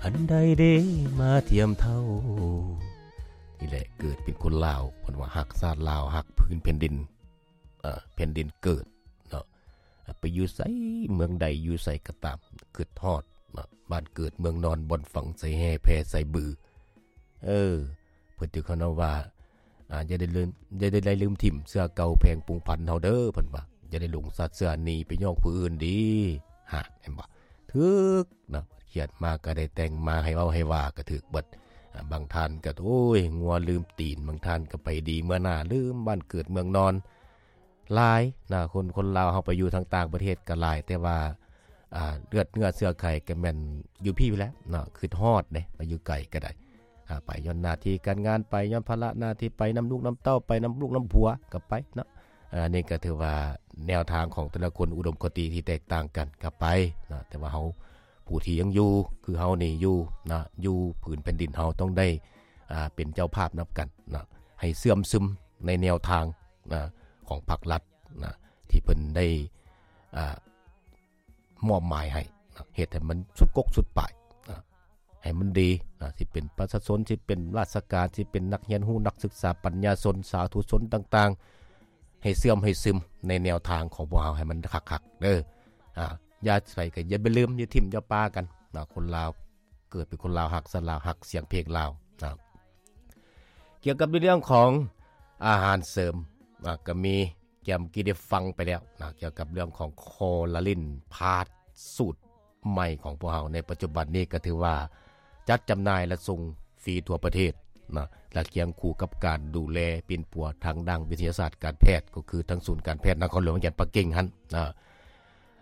ອັນໃດເດ້ມາທຽມເທົ່າ. ນີ້ແຫຼະ ເກີດເປັນຄົນລາວ ເພິ່ນວ່າຮັກຊາດລາວ ຮັກພື້ນແຜ່ນດິນ ເອີ ແຜ່ນດິນເກີດເນາະ. ໄປຢູ່ໃສ ເມືອງໃດ ຢູ່ໃສກໍຕາມ ຄິດຮອດເນາະ ບ້ານເກີດເມືອງນອນ ບ່ອນຝັງໃສ່ແຮ່ ແຜ່ໃສ່ບື. ເອີ ເພິ່ນຖືກເຂົາເນາະວ່າ ອ່າ ຢ່າໄດ້ລືມ ຢ່າໄດ້ລືມຖິ້ມເຊື້ອເກົ່າແຜງປົງພັນເຮົາເດີ ເພິ່ນວ່າ ຢ່າໄດ້ຫຼົງສັດເຊື່ອໜີໄປຍ້ອງຜູ້ອື່ນດີ. ຫາ ເຫັນບໍ່? ຖືກເນາະ ຄຽດມາກໍໄດ້ແຕ່ງມາ ໃຫ້ເວົ້າໃຫ້ວ່າກໍຖືກເບິດ. ອ່າ ບາງທ່ານກໍ ໂອ້ຍ ງົວລືມຕີນ ບາງທ່ານກໍໄປດີເມືອໜ້າ ລືມບ້ານເກີດເມືອງນອນ. ຫຼາຍນະ ຄົນ ຄົນລາວເຮົາໄປຢູ່ທາງຕ່າງປະເທດກໍຫຼາຍ ແຕ່ວ່າ ອ່າ ເລືອດເນື້ອເຊື້ອໄຂກໍແມ່ນຢູ່ພີ້ແຫຼະເນາະ ຄິດຮອດເດ້ ໄປຢູ່ໄກກໍໄດ້ ອ່າ ໄປຍ້ອນໜ້າທີ່ການງານ ໄປຍ້ອນພາລະໜ້າທີ່ ໄປນຳລູກນຳເຕົ້າ ໄປນຳລູກນຳຜົວກໍໄປເນາະ. ອັນນີ້ກໍຖືວ່າແນວທາງຂອງແຕ່ລະຄົນ ອຸດົມຄະຕິທີ່ແຕກຕ່າງກັນກໍໄປເນາະ ແຕ່ວ່າເຮົາ ຜູ້ທີ່ຍັງຢູ່ ຄືເຮົານີ້ຢູ່ນະ ຢູ່ພື້ນແຜ່ນດິນ ເຮົາຕ້ອງໄດ້ ອ່າ ເປັນເຈົ້າພາບນຳກັນນະ ໃຫ້ເຊື່ອມຊຶມໃນແນວທາງນະ ຂອງພັກລັດນະ ທີ່ເພິ່ນໄດ້ ອ່າ ມອບໝາຍໃຫ້ນະ ເຮັດໃຫ້ມັນສຸດກົກສຸດປາຍນະ ໃຫ້ມັນດີນະ ຊິເປັນປະຊາຊົນ ຊິເປັນລາຊະການ ຊິເປັນນັກຮຽນຮູ້ ນັກສຶກສາ ປັນຍາຊົນ ສາທຸຊົນຕ່າງໆ ໃຫ້ເຊື່ອມໃຫ້ຊຶມໃນແນວທາງຂອງພວກເຮົາໃຫ້ມັນຄັກໆເດີ. ອ່າ ຢ່າໃສກໍຢ່າໄປລືມ ຢ່າຖິ້ມຢ່າປະກັນນະ ຄົນລາວເກີດເປັນຄົນລາວ ຮັກຊາດລາວ ຮັກສຽງເພງລາວນະ. ກ່ຽວກັບໃນເລື່ອງຂອງອາຫານເສີມນະ ກໍມີ ແກມກີ້ໄດ້ຟັງໄປແລ້ວນະ ກ່ຽວກັບເລື່ອງຂອງຄໍລາລິນພາດສູດໃໝ່ຂອງພວກເຮົາໃນປັດຈຸບັນນີ້ ກໍຖືວ່າຈັດຈຳໜ່າຍ ແລະ ສົ່ງຟຣີທົ່ວປະເທດນະ ແລະ ຄຽງຄູ່ກັບການດູແລປິ່ນປົວທາງດ້ານວິທະຍາສາດການແພດ ກໍຄືທາງສູນການແພດນະຄອນຫຼວງວຽງຈັນປັກກິ່ງຫັ້ນນະ.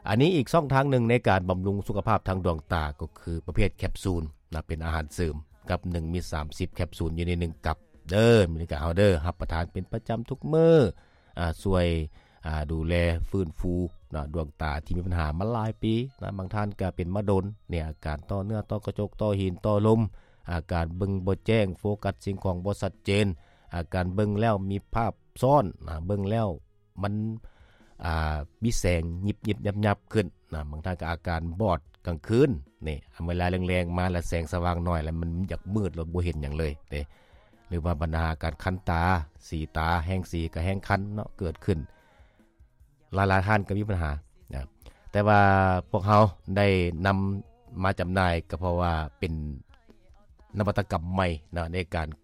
ອັນນີ້ອີກຊ່ອງທາງໜຶ່ງໃນການບຳລຸງສຸຂະພາບທາງດວງຕາ ກໍຄືປະເພດແຄັບຊູນນະ ເປັນອາຫານເສີມ ກັບໜຶ່ງມີສາມສິບແຄັບຊູນຢູ່ໃນໜຶ່ງກັບເດີ ມີໃນການເຮົາເດີ ຮັບປະທານເປັນປະຈຳທຸກມື້ ອາ ຊ່ວຍ ອາ ດູແລຟື້ນຟູນະ ດວງຕາທີ່ມີບັນຫາມາຫຼາຍປີນະ ບາງທ່ານກໍເປັນມາດົນ ໃນອາການຕໍ່ເນື້ອ ຕໍ່ກະຈົກ ຕໍ່ຫີນ ຕໍ່ລົມ ອາການເບິ່ງບໍ່ແຈ້ງ ໂຟກັສສິ່ງຂອງບໍ່ຊັດເຈນ ອາການເບິ່ງແລ້ວມີພາບຊ້ອນນະ ເບິ່ງແລ້ວ ມັນ ອ່າ ມີແສງຍິບໆຍັບໆຂຶ້ນນະ ບາງທ່ານກໍອາການບອດກາງຄືນນີ້ ເວລາແລງໆມາແລ້ວແສງສະຫວ່າງໜ້ອຍ ແລ້ວມັນຢາກມືດ ແລ້ວບໍ່ເຫັນຫຍັງເລີຍເດ້ ຫຼືວ່າບັນຫາການຄັນຕາ ສີຕາ ແຮງສີກໍແຮງຄັນເນາະ ເກີດຂຶ້ນ ຫຼາຍໆທ່ານກໍມີບັນຫານະ ແຕ່ວ່າພວກເຮົາໄດ້ນຳມາຈຳໜ່າຍ ກໍເພາະວ່າເປັນ ນະວັດຕະກຳໃໝ່ນະ ໃນການ